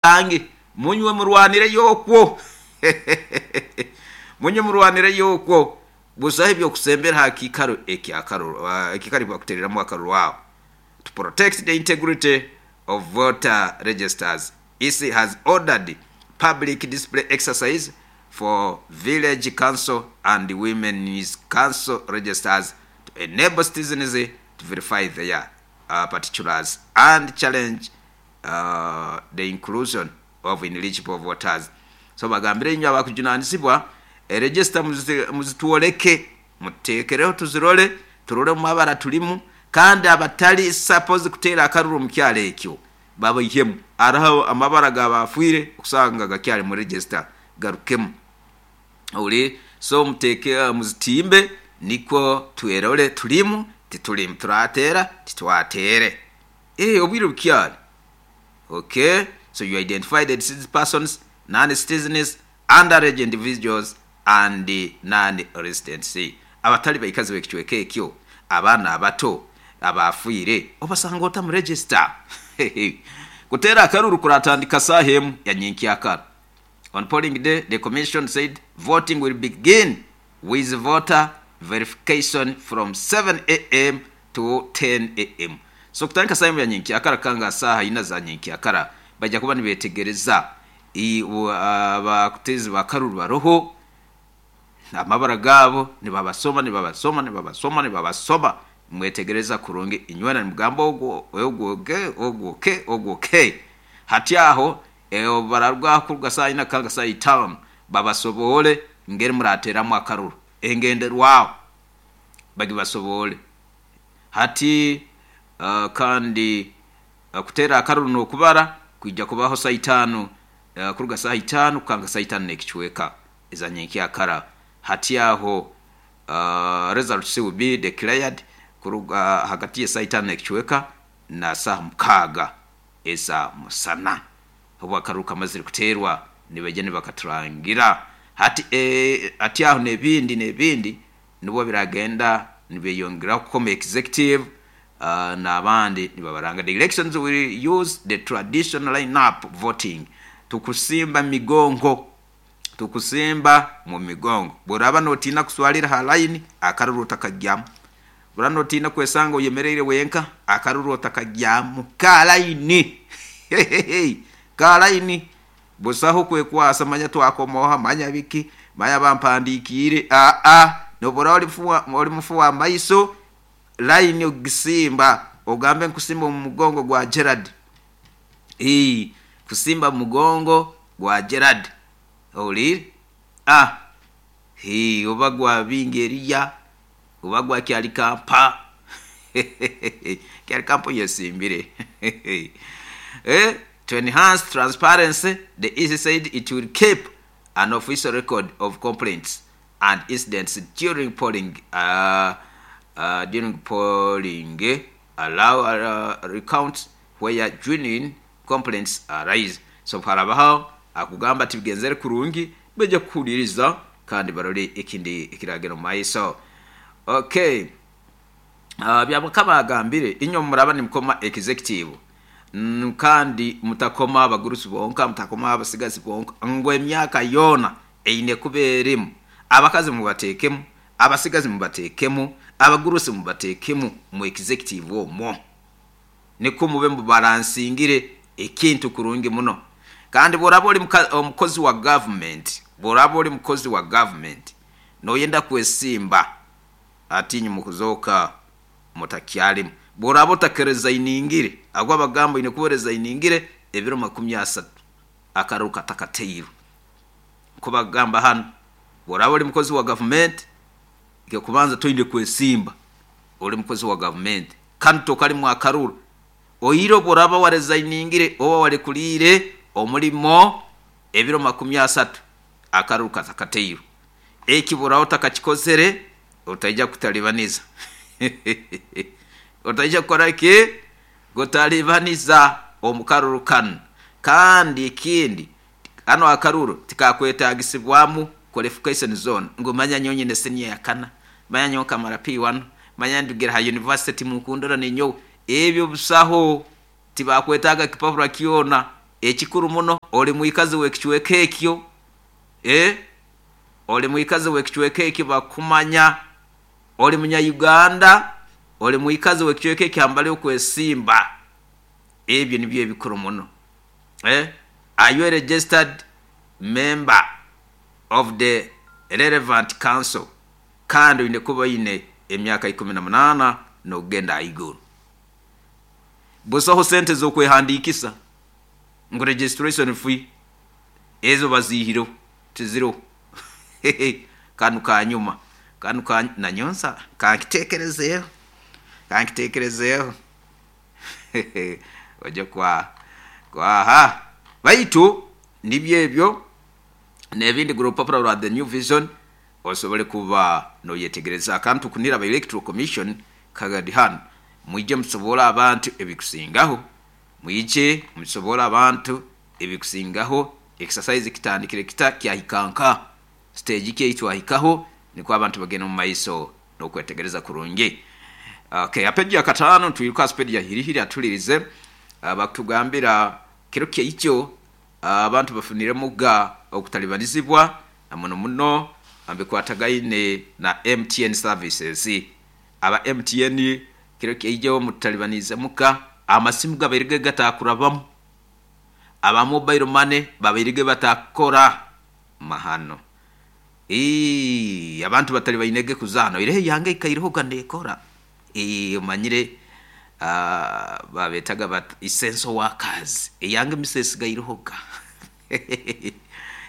Bange munywe murwanireyo okwo, munywe murwanireyo okwo. Busaho ebyokusembera ha kiikaro ekyakaruru, ekiikaro ekibakutereramu akaruru aho. To protect the integrity of voter registers, EC has ordered public display exercise for village council and women's council registers to enable citizens to verify their particulars and challenge the inclusion of ineligible voters. So bagambire inywe abakujunanizibwa eregister muzitwoleke, mututekereho tuzirole, turole omu mabara tulimu kandi abatali suppose kuteera akaruru omu kyaro ekyo babaihemu. Haroho amabara g'abafiire okusanga gakyali mu register garukemu. Owulire? So muteeke muzitimbe nikwo twerole tulimu titulimu, turateera titwateere. Eeh obwire bukyali. Ok, so you identify the deceased persons, non citizens, underage individuals and non residents. Abatali baikazi b'ekicweka ekyo, abaana abato, abaafiire, obasanga ota mu register? Kuteera akaruru kuratandika saaha emu ya nyenkyakara. On polling day, the commission said voting will begin with voter verification from 7am to 10am. So kutandika saaha emu ya nyenkyakara kukanga saaha ina za nyenkyakara baija kuba nibetegereza abateezi b'akaruru baroho, amabara gaabo nibabasoma, nibabasoma, nibabasoma, nibabasoma, nimwetegereza kurungi inywena nimugamba ogu ogu ok, ogu ok, ogu ok. Hati aho obu bararugaho kuruga saaha ina kukanga saaha itaano babasoboole engeri murateeramu akaruru, engenderwaho bagibasoboole. Hati kandi kuteera akaruru n'okubara kwija kubaho saaha itaano, kuruga saaha itaano kukanga saaha itaano n'ekicweka eza nyenkyakara. Hati aho results will be declared kuruga hagati y'esaaha itaano n'ekicweka na saaha mukaaga eza musana. Obu akaruru kamazire kuteerwa nibaija nibakaturangira. Hati hati aho n'ebindi n'ebindi nibwo biragenda nibyeyongeraho kukoma executive n'abandi nibabaranga. The elections will use the traditional line up voting. Tukusimba migongo, tukusimba mu migongo. Bw'oraaba n'otiina kuswalira ha layini, akaruru otakagyamu. Bw'oraaba n'otiina kwesanga oyemereire wenka, akaruru otakagyamu. Ka layini! Ka layini! Busaho kwekwasa manya twakoma oha, manya biki, manya bampandiikiire. Aa, n'obu oraaba oli mufu wa maiso, layini ogisimba, ogambe nkusimba omu mugongo gwa Gerald. Ii, kusimba mu mugongo gwa Gerald. Owuliire? A, hii, oba gwa Bingi Eriya, oba gwa Kyalikampa. Kyalikampa oyesimbire. Eh, to enhance transparency, the EC said it will keep an official record of complaints and incidents during polling, during polling, allow recounts where genuine complaints arise. So harabaho akugamba tibigenzere kurungi, baija kukuhuliriza kandi barole ekindi ekiragenda omu maiso. Okay. Byabakama agambire, inywe muraba nimukoma executive kandi mutakoma abagurusi bonka, mutakoma abasigazi bonka, ngu emyaka yoona eine kuba erimu. Abakazi mubateekemu, abasigazi mubateekemu, abagurusi mubateekemu mu executive omwo. Nikwo mube mubaransingire ekintu kurungi muno. Kandi bw'oraba oli omukozi wa gavumenti, bw'oraba oli mukozi wa gavumenti noyenda kwesimba, hati inywe mukuzooka mutakyalimu. Bw'oraba otakerezainingire, ago abagamba oine kuba orezainingire ebiro makumi asatu akaruru katakateirwe. Nko bagamba hanu, bw'oraba oli mukozi wa gavumenti, eky'okubanza toine kwesimba oli mukozi wa gavumenti kandi tokalimu akaruru. Oire obu oraba warezainingire oba warekuliire omulimo ebiro makumi asatu akaruru katakateirwe. Eki bw'oraba otakakikozere, otaija kutalibaniza. Otaija kukora ki? Kutalibaniza omu karuru kanu. Kandi ekindi, kanu akaruru tikakwetaagisibwamu qualification zoona ngu manya nyowe nyine siniya ya kana, manya nyowe nkamara P1, manya ndugire ha university timunkundora ninyowe. Ebyo busaho, tibakwetaaga kipapura kyona. Ekikuru muno oli mwikazi w'ekicweka ekyo, oli mwikazi w'ekicweka ekyo bakumanya, oli munya-Uganda, oli mwikazi w'ekicweka ekyo hambali okwesimba. Ebyo nibyo ebikuru muno. Are you a registered member of the relevant council? Kandi oine kuba oine emyaka 18 n'okugenda ahaiguru. Busaho sente z'okwehandiikisa ngu registration fee, ezo baziihireho, tiziroho. Kanu kanyuma, kanu ka nanyonsa kankiteekerezeeho, kankiteekerezeeho. Oje kwa kwaha. Baitu nibyo ebyo n'ebindi gura orupapura rwa The New Vision osobole kuba noyetegereza. Akantu kunira aba Electoral Commission kagadi hanu, mwije musobole abantu ebikusingaho, mwije musobole abantu ebikusingaho. Exercise kitandikire kita, kyahika nka stage ki ei twahikaho, nikwo abantu bagenda omu maiso n'okwetegereza kurungi. Okay, ha peji ya kataano nitwiruka ha speedi ya hirihiri atulirize bakutugambira kiro kyaikyo abantu bafuniremu ga okutalibanizibwa na muno muno bikwatagaine na MTN services. Aba MTN kiro kyaijo mutalibanizemu ga amasimu gabaire gatakurabamu, aba mobile money babaire batakukora mahano. Ii, abantu batali bainege kuzaana oireho eyange ikaireho ga neekora. Ii, omanyire babetaga bat essential workers, eyange misa esigaireho ga.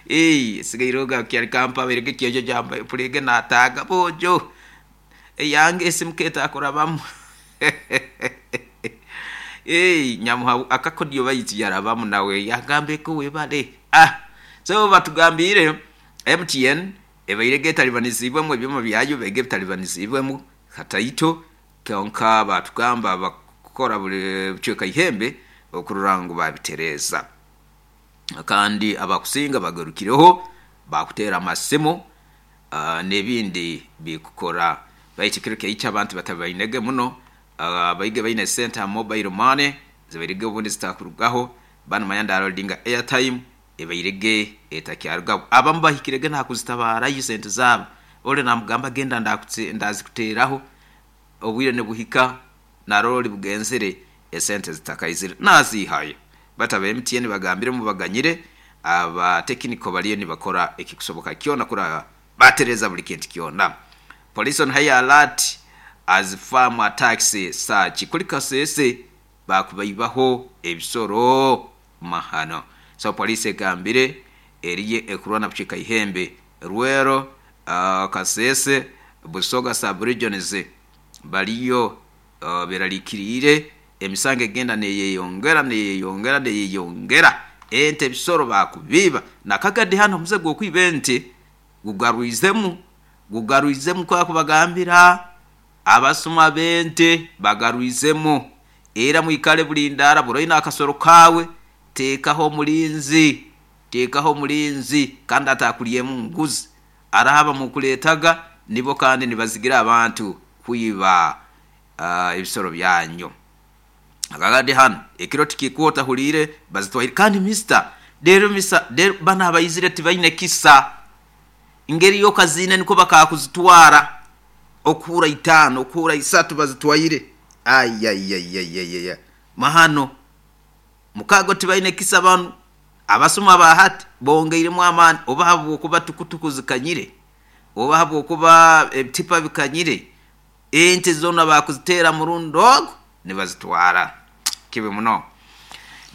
Ii, esigaireho ga kyali kampa abairege kyojo gyamba pulege nataaga boojo eyange esimu ketakurabamu. Ii, nyamuha akakodyo baitu yarabamu nawe yagamba eko webale. Ah, so batugambiire MTN ebairege etalibanizibwemu ebyoma byayo bibairege bitalibanizibwemu kataito, kyonka batugamba bakukora buli bucweka ihembe okurora ngu babitereeza. Kandi abakusinga bagarukireho bakuteera amasimu n'ebindi bikukora. Baitu ekiro kyaikyo abantu batabainege muno, baige baine sente ha mobile money zibairege obundi zitakurugaho, banu manya ndarodinga airtime ebairege etakyarugaho. Abamu bahikirege n'ahakuzitabaarayo sente zaabo, ori namugamba genda ndazikuteeraho, obwire nibuhika narora ori bugenzere esente zitakaizire naziihayo. Baitu aba MTN bagambire mubaganyire, aba tekiniko bariyo nibakora ekikusoboka kyona kurora batereeza buli kintu kyona. Police on high alert as farm attacks surge. Kuri Kasese bakubaibaho ebisoro mahano. So police egambire eriyo ekurwana bucweka Ihembe, Rwero, Kasese, Busoga sub regions bariyo berarikiriire emisango egenda neyeyongera neyeyongera neyeyongera ente ebisoro bakubiiba. Na Kagadi hanu omuze gw'okwiba ente gugarwizemu gugarwizemu kwakubagambira abasuma b'ente bagarwizemu. Era mwikale bulindaara buri oine akasoro kaawe teekaho omulinzi, teekaho omulinzi kandi atakuryemu nguzi. Araaba mukureetaga nibo kandi nibazigira abantu kwiba ebisoro byanyu. Akagadi hanu ekiro tikikuba otahuriire bazitwaire kandi mister reero misa reero banu abaizire tibaine kisa ngeri yokaziine nikwo bakakuzitwara okuhura itaano okuhura isatu bazitwaire ayayayayaya mahano mukago tibaine kisa banu abasuma ba hati bongeiremu amaani oba habwokuba tukutuku zikanyire oba habwokuba ebitipa bikanyire ente zoona bakuziteera murundi ogu nibazitwara. Kibi muno.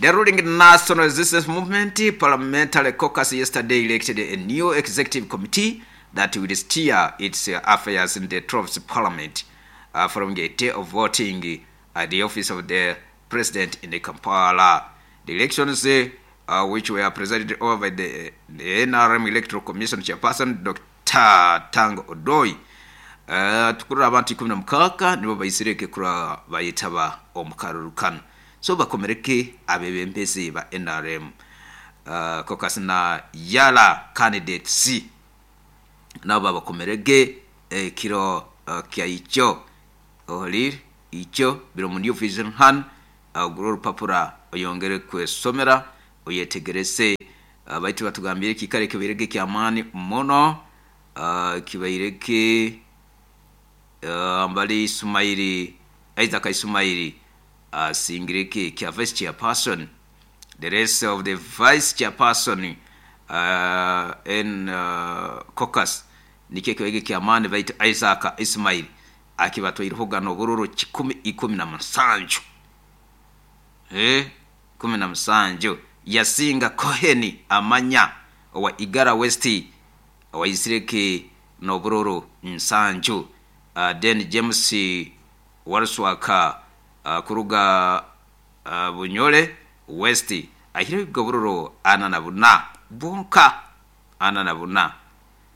The ruling National Resistance Movement Parliamentary Caucus yesterday elected a new executive committee that will steer its affairs in the 12th Parliament following a day of voting at the office of the President in Kampala. The elections, which were presided over by the NRM Electoral Commission Chairperson Dokita Tanga Odoi, tukurora abantu 16 nibo baizirege kurora bayetaba omu karuru kanu. So bakomereke abebembezi ba NRM caucus na Yala candidates nabo babakomerege ekiro kyaikyo. Ohuriire ikyo biri omu New Vision hanu, ogure orupapura oyongere kwesomera. Oyetegereze, baitu batugambire ekiikaro ekibairege ky'amaani muno, kibairege mbali Isumairi, Isaac Isumairi asingirege kya vice chairperson. The rest of the vice chairperson in caucus nikyo ekibairege ky'amaani, baitu Isaac Ismail akibatwairehoga n'obururu 117. 17 yasinga Cohen Amanya owa Igara West owaisireke n'obururu 7. Then James Warswaka kuruga Bunyole West ahireho obururu 44 bwonka, 44,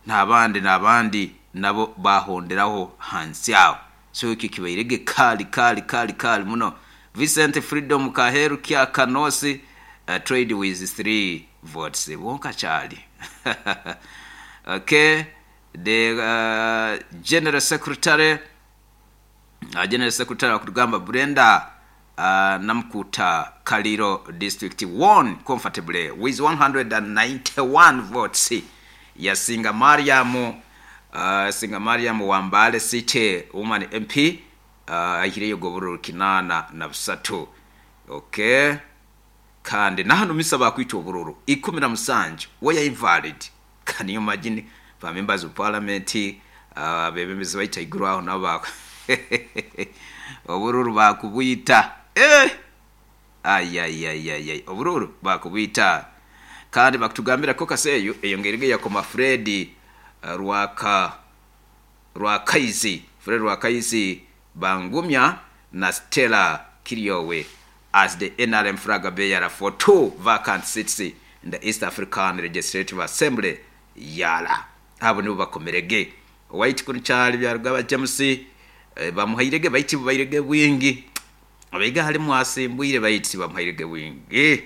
n'abandi n'abandi nabo bahonderaho hansi aho. So ekyo kibairege kali kali kali kali muno. Vincent Freedom Kaheru Kya Kanosi trade with 3 votes bwonka kyali. Okay, the general secretary, general secretary akutugamba Brenda Namkuta Kaliro district won comfortably with 191 votes. Yasinga Mariam, singa Mariam Wambale City woman MP, ahireyo gobururu 83. Okay, kandi nahano misa bakwita obururu 17 waya invalid. Can you imagine? Ba members of parliament, abebembezi baita iguru aho nabo obururu bakubwita. Ayayayayay, obururu bakubwita. Kandi bakutugambira ko kaseyo eyo ngerige yakoma Fred Rwaka Rwakaizi, Fred Rwakaizi Bangumya na Stella Kiryowe as the NRM flag bearer for 2 vacant seats in the East African Legislative Assembly yala. Abo nibo bakomerege. White kuni kyali byarugaba James, bamuhairege baiti bairege bwingi. Abaiga halimu asimbwire baiti bamuhairege bwingi.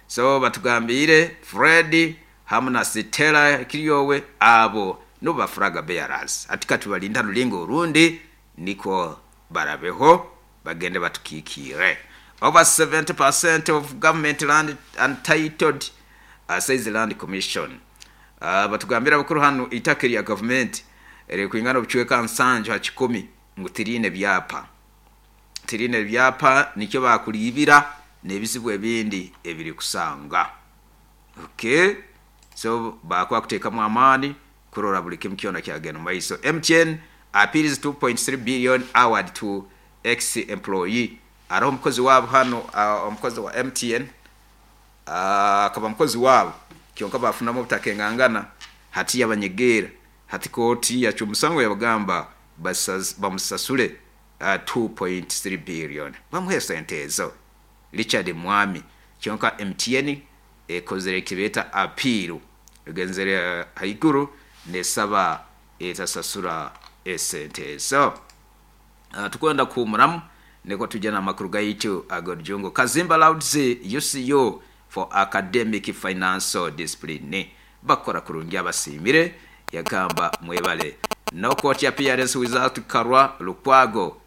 So batugambire Fred hamwe na Stella Kiryowe abo nibo ba flag bearers. Atika tubalinda rulingo urundi niko barabeho bagende batukikire. Over 70% of government land untitled, says the Land Commission. Batugambira abakuru hano itaka rya government riri kwingana obucweka 70 ngu tirine byapa. Tirine byapa nikyo bakulibira n'ebizibu ebindi ebiri kusanga. Okay, so bakwa kuteekamu amaani kurora buli kimu kyona kyagenda mu maiso. MTN appeals 2.3 billion award to ex employee. Ariho omukozi waabo hano, omukozi wa MTN, akaba mukozi waabo kyonka bafunamu obutakengangana hati yabanyegeera hati kooti yakyo omusango yabagamba bamusasule 2.3 billion bamuhe sente ezo. Richard Mwami kyonka MTN ekozere ekibeeta appeal egenzere haiguru nesaba etasasura esente ezo. Tukwenda kuhumuramu niko tujja n'amakuru gaitu ag'orujungu. Kazimba lauds UCU for academic financial discipline. Bakora kurungi abasimire yagamba mwebale. No court appearance without Karwa Lukwago.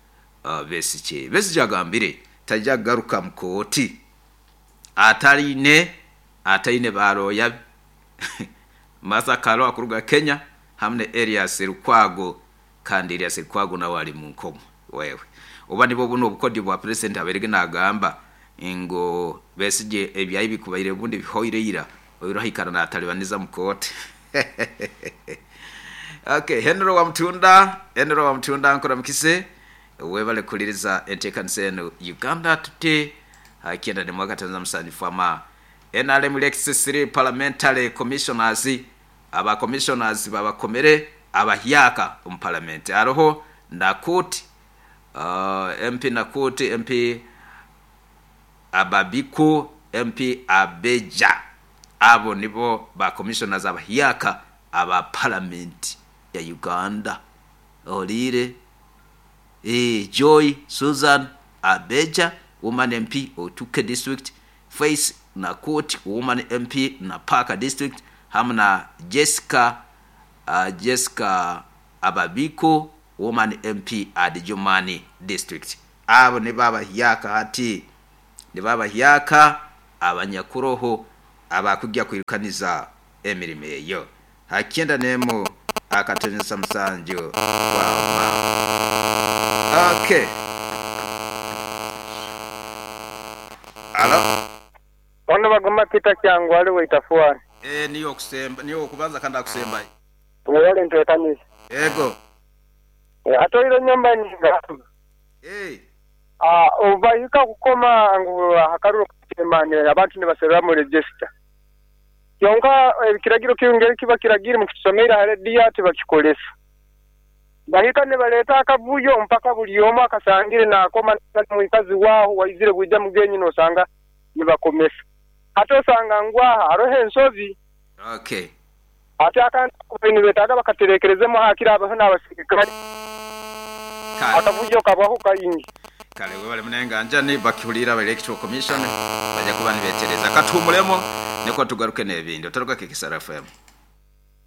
Besigye. Besigye agambire tajja kugaruka mu kooti ataine baroya Martha Karua kuruga Kenya hamwe na Elias Lukwago, kandi Elias Lukwago nawe ari mu nkomo wewe. Oba nibo buno obukodi bwa president aberege nagamba ngo Besigye ebyayi bikubaire bundi bihoire ira oirahikana na atalibaniza mu kooti. Okay, Henry wa Mtunda, Henry wa Mtunda nkora mukise webale kuliriza enteekanisa eno Uganda Today akienda ni mwaka tanza musanju ama NRM elects 3 parliamentary commissioners, aba commissioners babakomere abahyaka mu parliament. Aroho Nakuti, MP Nakuti, MP Ababiku, MP Abeja. Abo nibo ba commissioners abahyaka aba parliament ya Uganda. Olire Joy Susan Abeja, woman MP Otuke district, Faith Nakuti, woman MP na Parker district, hamwe na Jessica, Jessica Ababiko, woman MP Adjumani district. Abo ni babahyaka hati ni babahyaka abanyakuroho Abakujja kwirukaniza emirimo eyo ha 91.7 kwama. Okay. Alo. Ono Baguma Peter Kyangwali wa Itafuani. Eeh niye okusemba niye owokubanza kandi akusembayo. Mwebale ntekaniza. Ego. Atoire nyumba ningamba. Eeh. Obu bahika kukoma ngu aha karuru ka chairman abantu nibaserramu register. Kyonka ekiragiro kinu engeri kiba kiragire mukitusomeire ha rediyo tibakikolesa. Bahika nibaleeta akavuyo mpaka buli omu akasangire naakoma mwikazi waaho waizire bwija mugenyi nosanga nibakomesa. Hati osanga ngu aha haroho ensobi. Ati akantu ako nibetaaga bakaterekerezemu hakiri habeho n'abasirikale. Kale. Akavuyo kabaho kaingi. Kale webale munenganjani bakihuliire aba Electoral Commission baja kuba nibetereza. Katuhumulemu nikwo tugaruke n'ebindi. Otaruga KKSR FM.